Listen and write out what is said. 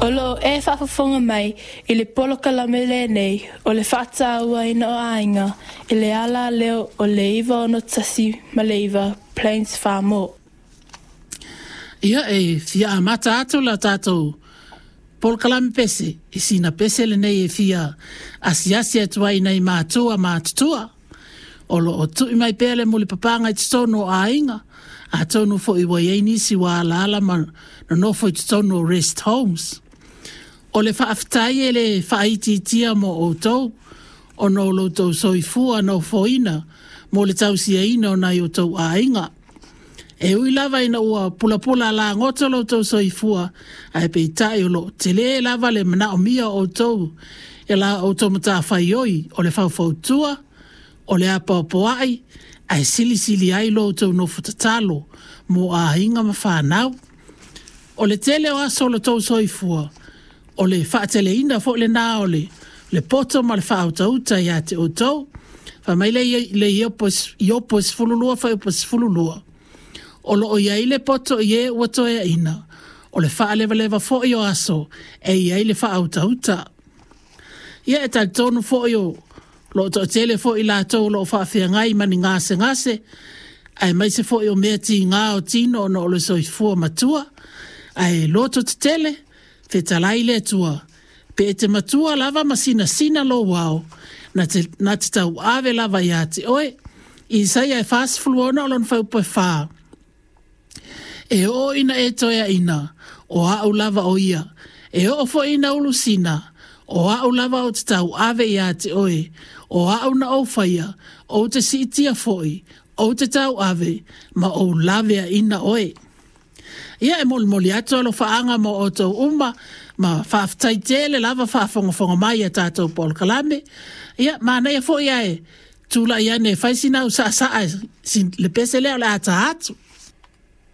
O lo o e faafofoga mai i le polokalame lenei o le faatauaina o aiga i le alaleo o le 961 ma le 9 Plains Farmore. Ia, e fia amata atu la tatou polokalame pese, i sina pese lenei e fia asiasi atu ai nai matua matutua. O lo o tui mai pea le mulipapaga i totonu o aiga, atonu foi ua i ai nisi ua alaala ma nonofo i totonu o rest homes. O le faafetai e le faaitiitia mo outou, ona o lo outou soifua nofoina mo le tausiaina o nai o outou aiga. E ui lava ina ua pulapula lagoto lo outou soifua, ae peitai o lo o tele lava le manaomia o outou e la outou matafaioi o le faufautua, o le apoapoai, ae silisili ai lo outou nofo tatalo mo aiga ma fanau. O le tele o aso o lo outou soifua, o le faateleina foi lena o le poto ma le faautauta ia te outou. Fai mai le Iopo 12 fuaiupu 12, o lo o i ai le poto i e ua toeaina, o le faalevaleva foi o aso e i ai le faautauta. Ia e talitonu foi o lo o toatele foi i latou o lo o faafeagai ma ni gasegase, aemaise foi o mea tiga o tino ona o le soifua matua, ae loto tetele, fetalai le Atua, pe e te matua lava ma sinasina lou ao, na te, na te tauave lava ia te oe. Isaia e 46 o lona fuaiupu e 4. E oo ina e toeaina, o au lava o ia. E oo foi ina ulusina, o au lava ou te tauave ia te oe. O au na ou faia, ou te siitia foi, ou te tauave, ma ou laveaina oe. Ia e molimoli atu alofaaga mo outou uma, ma faafetai tele lava faafogafoga mai i tatou polokalame. Ia, manaia foi ae tulai ane e fai sina au saasaa le pese lea o le a ta atu.